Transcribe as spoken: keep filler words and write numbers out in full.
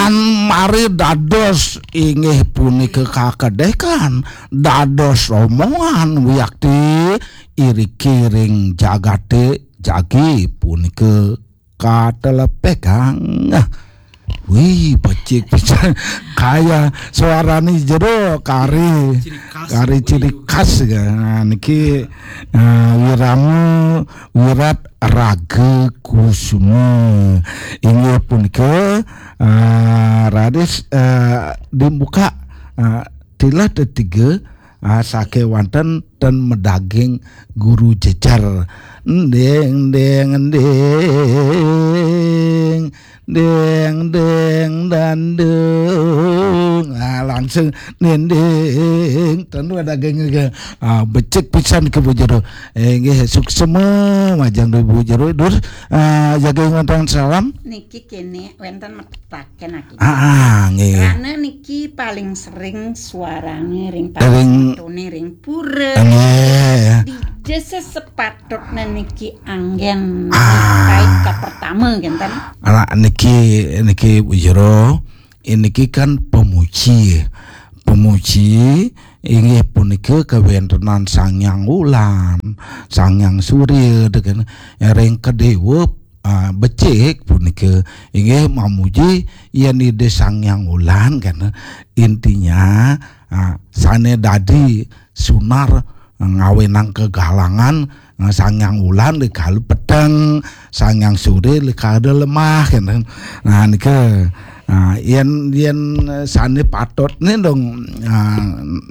Mari dados inggih punika kakedekan, dados rombongan wiakti iriki ring jagate jagi punika katelepegang. Wih, becik pisan. Kaya suarane jero kari, kari ciri khas. Nah, niki, eh, Wirama Wirat Raga Kusuma. Inggih punika, eh, raris, eh, dibuka, eh, tilah tetiga, ah, sakewanten ten medaging guru jejer. Nding, nding, nding, nding, nding, dandung. Ah, langsung dinding. Ten medaging ke, ah, becik pisan ke Bu Jero. Eh, nggih, suksema majeng Bu Jero. Dur, ah, jaga ngonten salam. Niki kene wenten metepaken aki. Ah, ah, nggih. Karena niki paling sering suarane ring Ring paling ring pura. Nggih. Dija sesepatutne niki anggen Ah. Kait ka pertama kenten. Anak niki, niki Bu Jero, niki kan pemuji. Pemuji inggih punika kawentenan Sang Hyang Wulan, Sang Hyang Surya, deken ring kedewa, ah, becik punika inggih mamuji yen Ida Sang Hyang Wulan kan. Intinya, ah, sane dadi sunar ngawenang kegalangan, ah, Sang Hyang Wulan dikala peteng, Sang Hyang Surya dikala lemah kan. Nah, nika, ah, yen, yen sane patutne dong, ah,